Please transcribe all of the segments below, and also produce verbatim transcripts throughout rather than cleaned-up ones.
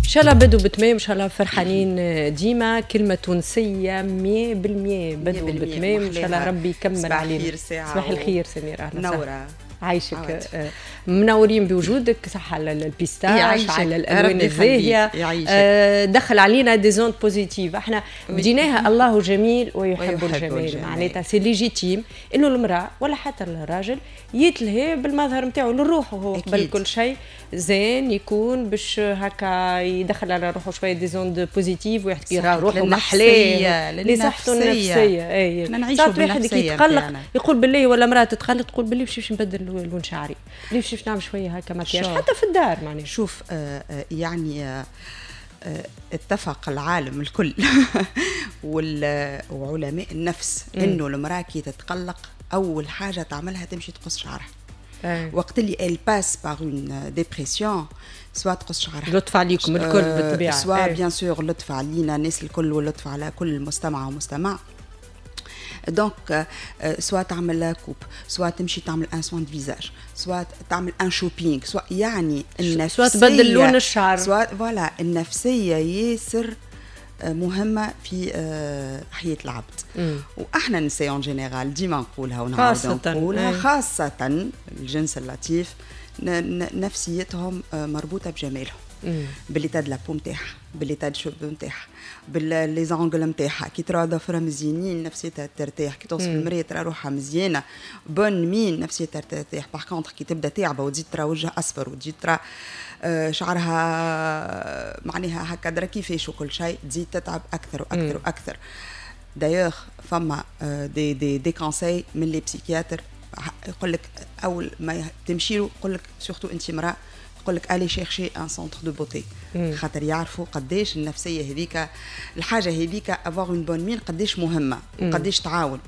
ان شاء الله بدو بتمام، ان شاء الله فرحانين ديما. كلمة تونسية مية بالمية، بدو بتمام، ان شاء الله ربي يكمل علينا. صباح الخير سميرة. اهلا. منوره. عايشك، آه، منورين بوجودك. صح على ال pistache، على الالوان الزاهيه. آه، دخل علينا des ondes positives. احنا بديناها الله جميل ويحب, ويحب الجمال. معناتها c'est légitime انه المراة ولا حتى الراجل يتلهي بالمظهر نتاعو للروح، وهو قبل كل شيء زين يكون باش هكا يدخل على روحه شوية des ondes positives ويحكي روحه محلاه لصحته النفسيه. اي، ساعات واحد يتقلق يقول بالله، ولا امراة تتقلق تقول بالله باش نبدل لون شعري، ليش باش نعمل شوية هكا مكياج حتى في الدار معناها. شوف، آه، آه، يعني آه، اتفق العالم الكل وعلماء النفس انه المراة كي تتقلق اول حاجة تعملها تمشي تقص شعرها. أي. وقت اللي elle passe par une dépression، soit تقص شعرها. لطف عليكم الكل بالطبيعه. soit bien sûr لطف علينا الناس الكل ولطف على كل مستمع ومستمع. donc soit تعمل coupe، soit تمشي تعمل un soin de visage، soit تعمل un shopping، soit يعني النفسيه، soit تبدل لون الشعر. soit voilà، النفسية ياسر مهمة في حياة العبد. مم. واحنا النساء en général ديما نقولها ونعاود نقولها، خاصة الجنس اللطيف، نفسيتهم مربوطة بجمالهم، ب l'état de la peau نتاعها، ب l'état de cheveux نتاعها، ب les ongles نتاعها. كي ترى ظفرها مزيانين نفسيتها ترتاح، كي توصل المراية ترى روحها مزيانه bonne mine نفسيتها ترتاح. par contre كي تبدا تعبه وتزيد ترى وجهها اصفر وتزيد ترى آه، شعرها معناها هكا درا كيفاش وكل شيء، تزيد تتعب اكثر واكثر واكثر. d'ailleurs فما des des des conseils من les psychiatres، يقول لك اول ما تمشي له يقول لك surtout انت امراة، يقول لك allez chercher un centre de beauté، خاطر يعرفوا قداش النفسية هذيك، الحاجة هذيك avoir une bonne mine قداش مهمة وقداش تعاون.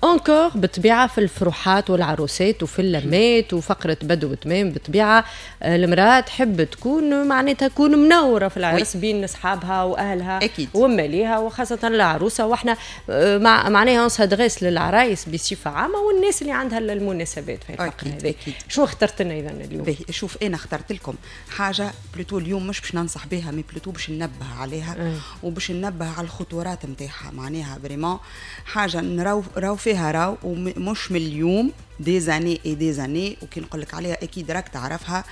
encore بالطبيعة في الفروحات والعروسات وفي اللمات وفقره بدو وتمام، بالطبيعة آه، المراة تحب تكون معناتها تكون منورة في العرس بين اصحابها واهلها أكيد. وماليها، وخاصة العروسه. واحنا آه، مع معناها on s'adresse للعرايس بصفة عامة والناس اللي عندها المناسبات في الفقرة هذه. شو اخترت لنا اذا اليوم؟ شوف، انا اخترت لكم حاجة plutôt اليوم مش باش ننصح بها mais plutôt باش ننبه عليها أه. وباش ننبه على الخطورات نتاعها. معناها vraiment حاجة نراو راو فيها راو، ومش من اليوم، des années et des années. وكي نقول لك عليها اكيد راك تعرفها،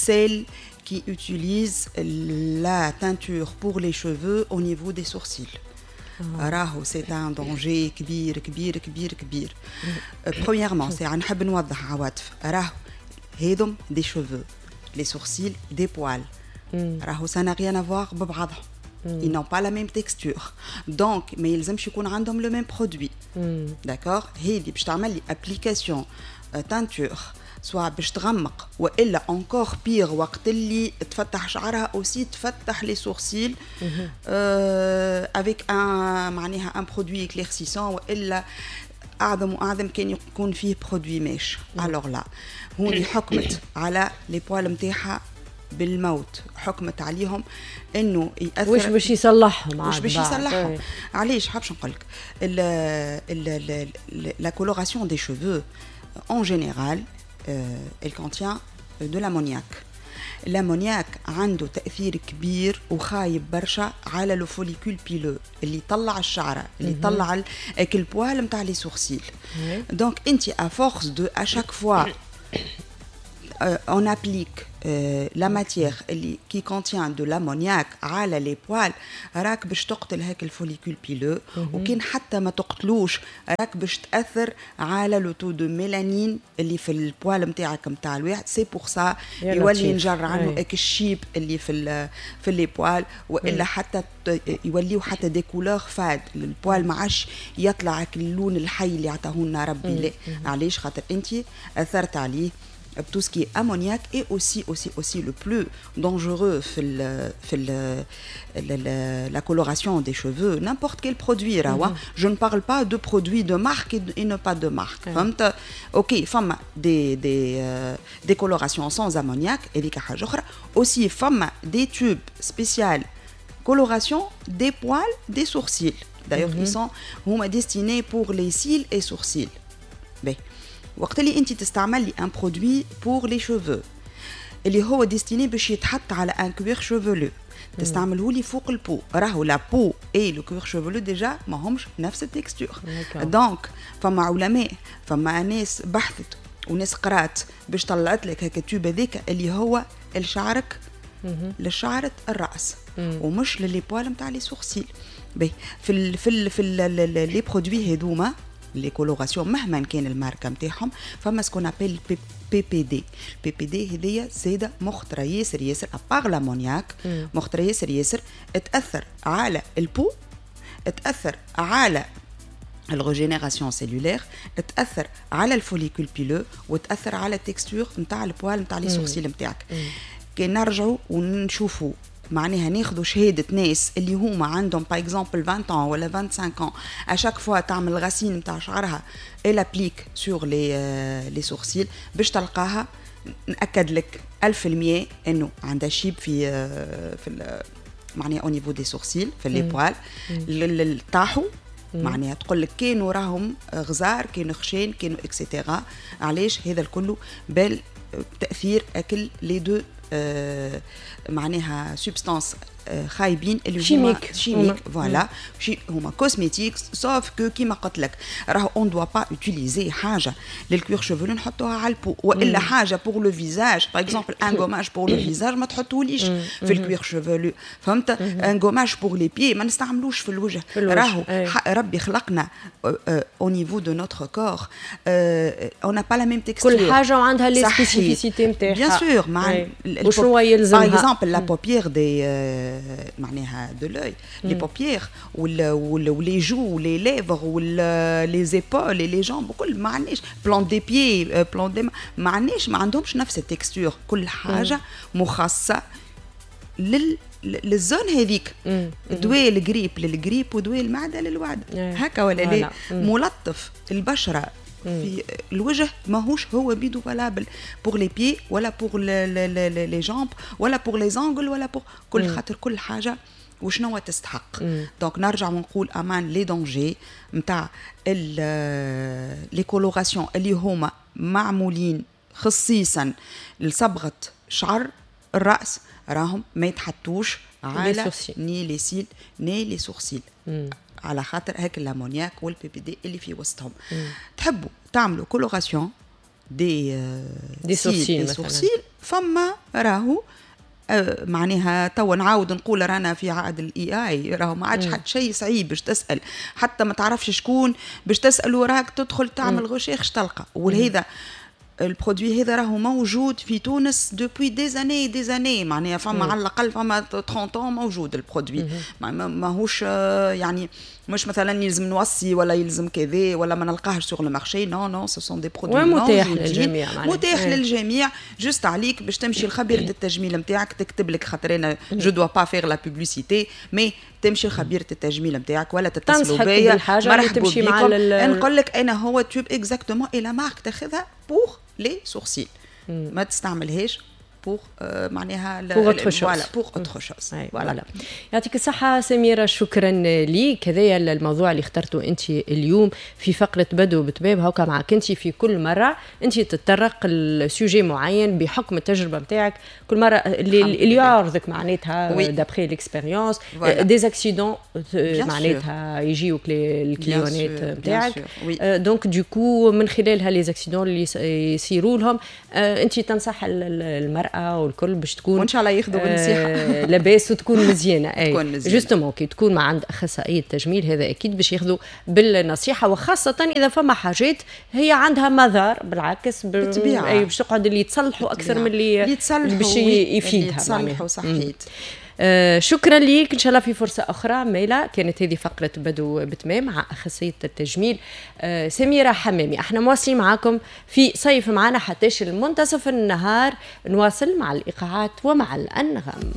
celles qui utilisent la teinture pour les cheveux au niveau des sourcils. راهو c'est un danger كبير كبير كبير كبير. premièrement ساعة نحب نوضح عواطف، راهو هذم des cheveux، les sourcils des poils، راهو ça n'a rien à voir ببعضهم، ils n'ont pas la même texture، donc ما يلزمش يكون عندهم le même produit، d'accord؟ هذه باش تعمل لي application teinture، soit باش تغمق والا encore pire وقت اللي تفتح شعرها aussi تفتح les sourcils avec un معناها un produit éclaircissant، والا اعظم واعظم كان يكون فيه produit mèche. alors là هوني حكمت على les poils نتاعها بالموت، حكمت عليهم انه ياثر. واش باش يصلحهم؟ واش باش يصلحهم؟ علاش؟ حابش نقول لك la coloration des cheveux en général elle contient de l'ammoniac. l'ammoniac عنده تاثير كبير وخايب برشا على le follicule pileux اللي يطلع الشعره، اللي يطلع ال poil نتاع les sourcils. donc انت à force de à chaque fois on applique euh, la matière اللي qui contient de l'ammoniac على les poils، راك باش تقتل هاك ال follicule pileux، وكان حتى ما تقتلوش راك باش تاثر على le taux de mélanine اللي في ال poil نتاعك نتاع الواحد. c'est pour ça يولي ينجر عنه هاك الشيب اللي في في les poils، والا حتى يوليو حتى des couleurs fades، ال poil ما عادش يطلع اللون الحي اللي عطاه لنا ربي. لا، علاش؟ خاطر انت اثرت عليه tout ce qui est ammoniac et aussi aussi aussi le plus dangereux في ال في ال la coloration des cheveux، n'importe quel produit راهو، je ne parle pas de produits de marque et ne pas de marque، فهمت؟ OK، فما des des des colorations sans ammoniac، هذيك حاجة اخرى. aussi فما des tubes spécial coloration des poils des sourcils، d'ailleurs ils sont هما destinés pour les cils et sourcils. باهي، وقت اللي انت تستعمل لي un produit pour les cheveux اللي هو destiné باش يتحط على un cuir chevelu، تستعمله لي فوق ال peau، راهو la peau et le cuir chevelu déjà ماهمش نفس ال texture. donc فما علماء، فما ناس بحثت وناس قرات باش طلعت لك هكا tube هذيك اللي هو لشعرك، لشعرة الراس ومش ل les poils نتاع les sourcils. باهي، في ال في ال في les produits هذوما les colorations، مهما كان الماركة نتاعهم، فما ce qu'on appelle بي بي دي. بي بي دي هذيا زاده مخطره ياسر ياسر، à part l'ammoniaque مخطره ياسر ياسر، تاثر على ال peau، تاثر على ال régénération cellulaire، تاثر على ال follicule pileux، وتاثر على ال texture نتاع ال poils نتاع les sourcils نتاعك. كي نرجعوا ونشوفوا، معناها ناخذوا شهادة ناس اللي هما عندهم par exemple عشرين ans ولا خمسة وعشرين ans، à chaque fois تعمل racine نتاع شعرها elle applique sur les les sourcils، باش تلقاها ناكد لك ألف في المية انه عندها شيب في في معناها au niveau des sourcils، في les poils طاحوا، معناها تقول لك كانوا راهم غزار، كانوا خشين، كانوا et cetera. علاش هذا الكل؟ بل تاثير اكل les deux آه معناها substances آه خايبين اللي هما chimiques. chimiques، voilà، هما cosmétiques، sauf que كيما قلت لك راهو on doit pas utiliser حاجة لل cuir chevelu نحطوها على ال peau، والا حاجة pour le visage، par exemple un gommage pour le visage ما تحطوليش في ال cuir chevelu، فهمت؟ un gommage pour les pieds ما نستعملوش في الوجه. راهو ربي خلقنا au niveau de notre corps on n'a pas la même texture. كل حاجة وعندها les spécificités نتاعها. bien sûr. مع وشنو يلزمها. par exemple la paupière des معناها de l'œil، les paupières و les joues، les lèvres، les épaules، les jambes، كل ما عندناش plante des pieds، plante des ما عندناش، ما عندهمش نفس ال texture. كل حاجة مخصصة لل لل zone هذيك. دواء ال grippe لل grippe ودواء المعدة للمعدة، هكا ولا لا؟ ملطف البشرة في الوجه ماهوش هو بيدو valable pour les pieds ولا pour les jambes ولا pour les ongles ولا pour كل، خاطر كل حاجة وشنو تستحق. donc نرجع ونقول امان les dangers نتاع les colorations اللي هما معمولين خصيصا لصبغه شعر الراس، راهم ما يتحطوش على ni les cils ni les sourcils، على خاطر هاك l'ammoniaque وال PPD اللي في وسطهم. تحبوا تعملوا coloration des des sourcils، des sourcils، فما راهو آه، معناها توا نعاود نقول رانا في عهد ال AI، راهو ما عادش حتى شيء صعيب باش تسال، حتى ما تعرفش شكون باش تسال، وراك تدخل تعمل recherche تلقى. ولهذا ال produit هذا راهو موجود في تونس depuis des années des années، معناها فما على الاقل فما ثلاثين ans موجود ال produit. ماهوش آه، يعني مش مثلا يلزم نوصي ولا يلزم كذا ولا ما نلقاهش sur le marché. non non، ce sont des produits متاح للجميع. متاح للجميع، juste عليك باش تمشي لخبيرة التجميل نتاعك تكتب لك، خاطر انا je dois pas faire la publicité، mais تمشي لخبيرة التجميل نتاعك ولا تتصلوا بيا، مرحبا تمشي مع نقول لك انا هو tube exactement et la marque تاخذها pour les sourcils، ما تستعملهاش pour معناها pour autre chose. voilà، pour autre chose. voilà، يعطيك الصحة سميرة، شكرا ليك. هذايا الموضوع اللي اخترته انت اليوم في فقرة بدو بتباب. هاكا معك انت في كل مرة انت تتطرق ل sujet معين بحكم التجربة نتاعك، كل مرة اللي, اللي يعرضك معناتها d'après l'expérience des accidents معناتها يجيوك ال clientات نتاعك، donc du coup من خلالها les accidents اللي يصيروا لهم انت تنصح المراة والكل باش تكون وان شاء الله ياخذوا بالنصيحه. آه لاباس وتكون مزيانه. اي، تكون مزيانه. justement كي تكون مع عند اخصائية التجميل هذا اكيد باش ياخذوا بالنصيحه، وخاصة اذا فما حاجات هي عندها مضار بالعكس. بالطبيعه. اي، باش تقعد اللي يتصلحوا اكثر من اللي اللي يتصلحوا باش يفيدها. يتصلحوا، صحيت. آه شكرا ليك، ان شاء الله في فرصة اخرى. ميلا كانت هذه فقره بدو بتمام مع اخصائية التجميل آه سميرة حمامي. احنا مواصلين معاكم في صيف معنا حتىش المنتصف النهار، نواصل مع الايقاعات ومع الانغام.